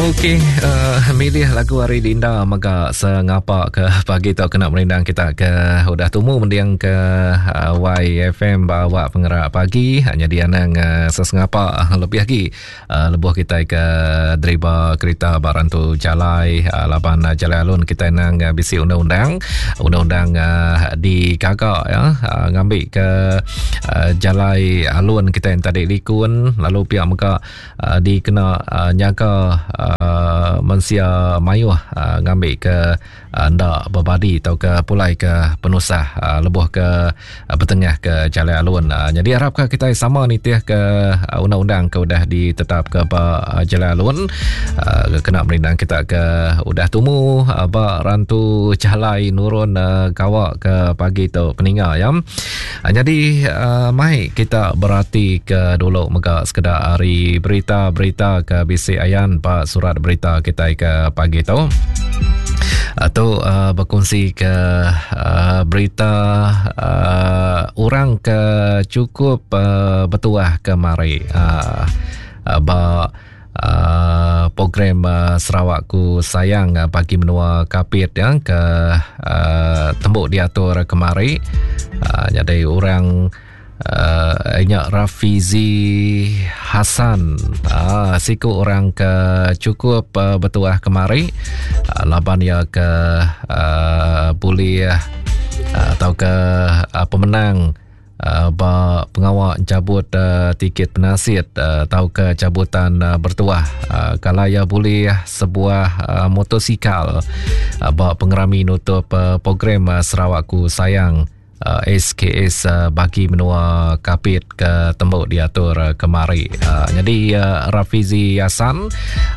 Okey, uh, milih lagu hari Dinda mega sengapa ke pagi tu kena merindang kita ke udah tumu mending ke uh, YFM bawa pengerak pagi hanya dia nang uh, sesengapa lebih lagi uh, lebuh kita ke driba kereta barang tu jalai uh, laban uh, jalai alun kita nang uh, bisi undang-undang undang-undang uh, digaga ya uh, ngambil ke uh, jalai alun kita yang tadi likun lalu pihak mega uh, dikena uh, nyaga uh, mensia mayuh uh, ngambil ke uh, enda berbadi atau ke pulai ke penusah uh, lebuh ke uh, bertengah ke jalai alun. Uh, jadi harap ke kita sama nitih ke uh, undang-undang ke udah ditetap ke ba uh, jalai alun uh, kena merindang kita ke udah tumu uh, ba rantu jalai nurun uh, gawa ke pagi tu peninga ya. Ah, jadi uh, mai kita berati ke dulu mega sekeda hari berita-berita ke bisi ayan ba surat berita kita ke pagi tu. Atau uh, berkongsi ke uh, berita uh, orang ke cukup uh, bertuah ke mari uh, uh, ba uh, program uh, Sarawakku Sayang uh, bagi menua Kapit ya ke uh, tembuk diatur kemari uh, jadi orang uh, inyak Rafizi Hassan uh, siku orang ke cukup uh, bertuah kemari uh, laban ya ke uh, boleh uh, atau ke uh, pemenang uh, ba pengawa cabut uh, tiket penasit uh, atau ke cabutan uh, bertuah uh, kalau ia boleh sebuah uh, motosikal uh, ba pengerami nutup uh, program uh, Sarawakku Sayang uh, SKS uh, bagi menua Kapit ke tembuk diatur uh, kemari. Uh, jadi uh, Rafizi Hassan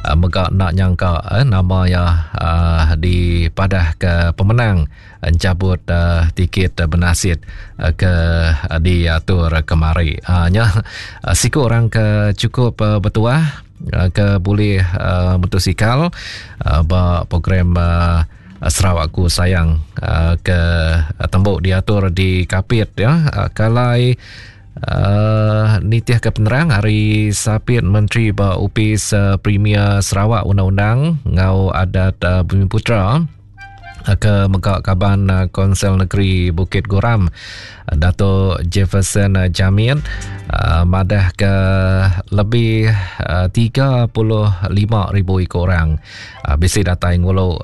uh, mega nak nyangka uh, nama ya uh, dipadah ke pemenang encabut uh, tiket uh, benasit uh, ke uh, diatur kemari. Uh, nya uh, siku orang ke cukup uh, bertuah uh, ke boleh uh, motosikal uh, ba program uh, Sarawakku Sayang uh, ke uh, tembuk diatur di Kapit ya. Uh, kalai Uh, nitih ke penerang hari Sapit Menteri ba Opis uh, Premier Sarawak Undang-Undang ngau Adat uh, Bumi Putra ke mega kaban eh, Konsel Negeri Bukit Goram eh, Dato Jefferson eh, Jamit madah ke lebih 35,000 ikut orang bisi datai ngulu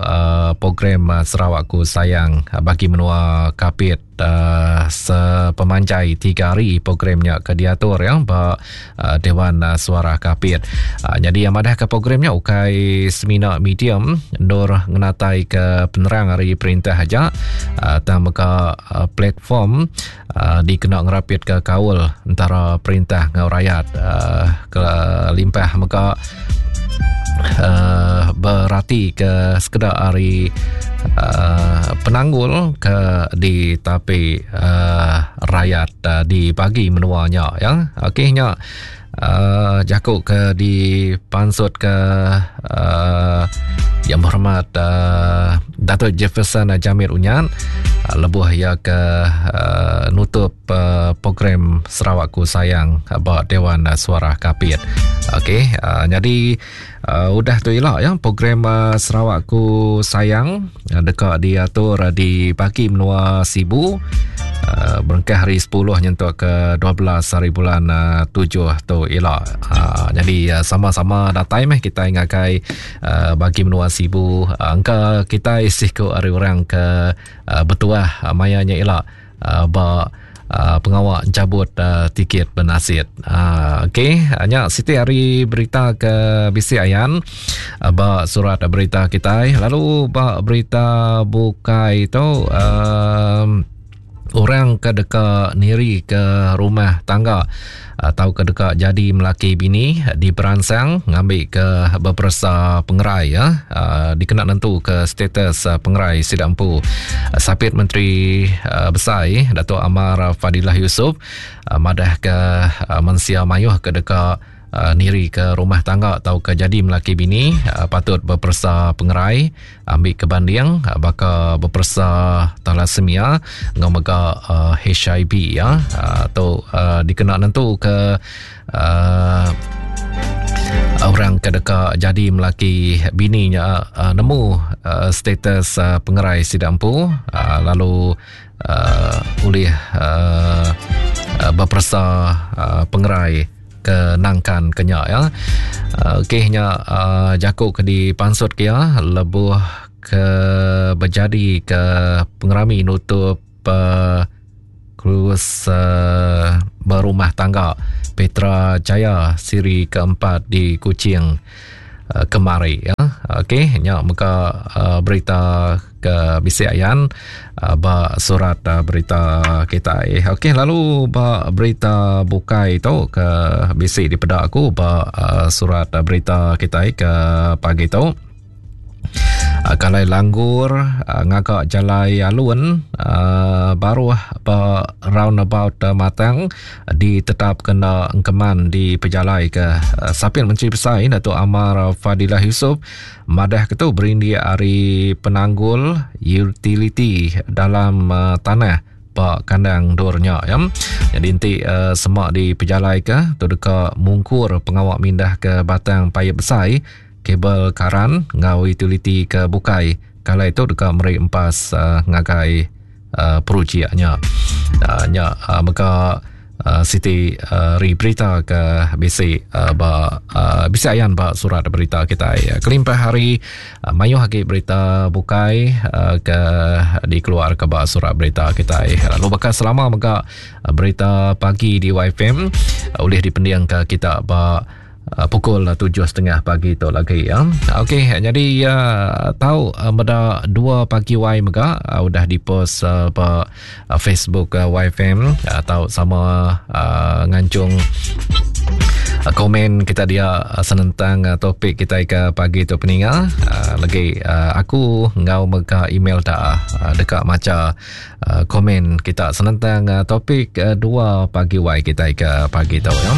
program Sarawakku Sayang bagi menua Kapit uh, sepemanjai tiga hari programnya ke diatur ya ba uh, Dewan uh, Suara Kapit. Uh, jadi yang madah ke programnya ukai semina medium nur ngenatai ke penerang hari perintah aja uh, tang mega uh, platform uh, dikena ngerapit ke kaul antara perintah ngau rakyat uh, ke limpah mega uh, berati ke sekeda hari uh, penanggul ke di tapi uh, rakyat uh, di bagi menuanya ya okey nya uh, jaku ke di pansut ke uh, yang berhormat uh, Datuk Jefferson Jamir Unyan uh, lebuh ya ke uh, nutup uh, program Sarawakku Sayang ba Dewan Suara Kapit. Okey, uh, jadi uh, udah tu ila ya program uh, Sarawakku Sayang uh, deka diatur uh, di pagi menua Sibu uh, berengkah hari 10 nyentuk ke 12 hari bulan uh, 7 tu ila. Uh, jadi uh, sama-sama datai meh kita ngagai uh, bagi menua Sibu uh, engka kita siku hari orang ke uh, betuah uh, maya nya ila uh, ba uh, pengawa encabut uh, tiket benasit. Uh, Okey, nya siti hari berita ke bisi ayan uh, ba surat berita kita. Lalu ba berita bukai tu uh, orang ke deka niri ke rumah tangga atau ke deka jadi melaki bini diperansang ngambil ke beperesa pengerai ya uh, dikena nentu ke status uh, pengerai sida empu. Sapit Menteri uh, Besai Datuk Amar Fadilah Yusof madah ke mensia mayuh ke deka uh, niri ke rumah tangga atau ke jadi melaki bini uh, patut beperesa pengerai ambil ke banding uh, baka beperesa thalassemia ngau mega uh, HIV ya uh, atau uh, dikena nentu ke uh, Orang ke deka jadi melaki bini nya uh, nemu uh, status uh, pengerai sida empu uh, lalu uh, ulih uh, uh, beperesa uh, pengerai ke nangkan ke nya ya. Uh, Okey nya uh, jaku ke dipansut ke ya lebuh ke bejadi ke pengerami nutup uh, Kurus uh, berumah tangga Petra Jaya siri keempat di Kuching uh, kemari ya. Okey nya mega uh, berita ke bisi ayan uh, ba surat uh, berita kita. Okey lalu ba berita bukai tu ke bisi dipeda aku ba uh, surat uh, berita kita ke pagi tu. Ah, kalai langgur ah, ngaga jalai alun ah, baruh ba roundabout Matang ditetap kena engkeman di pejalai ke Sapin Menteri Besai Datuk Amar Fadilah Yusof madah ke tu berindik ari penanggul utiliti dalam tanah ba kandang endur nya ya. Jadi enti uh, semak di pejalai ke tu deka mungkur pengawa mindah ke batang paip besai kabel karan enggau utiliti ke bukai kalai tu deka meri empas uh, ngagai uh, projek nya. Uh, nya uh, mega uh, siti uh, ri berita ke bisi uh, ba uh, bisi ayan ba surat berita kita. Kelimpah hari uh, mayuh agi berita bukai uh, ke dikeluar ke ba surat berita kita. Lalu baka selama mega uh, berita pagi di YFM uh, ulih dipending ke kita ba Uh, pukul 7.30 pagi tu lagi ya. Okey, jadi uh, tahu uh, meda 2 pagi Y mega uh, udah dipost uh, ba uh, Facebook uh, YFM uh, tahu sama uh, ngancung uh, komen kita dia uh, senentang uh, topik kita ke pagi tu peninga uh, lagi uh, aku ngau mega email tak uh, dekat maca uh, komen kita senentang uh, topik uh, 2 pagi Y kita ke pagi tu ya.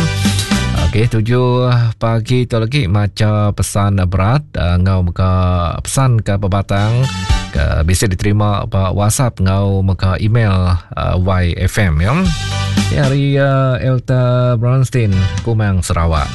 Okey, 7 pagi tu lagi maca pesan berat uh, ngau mega pesan ke pebatang ke bisa diterima ba WhatsApp ngau mega email uh, YFM ya. Ya, hari uh, Elta Bronstein Kumang Sarawak.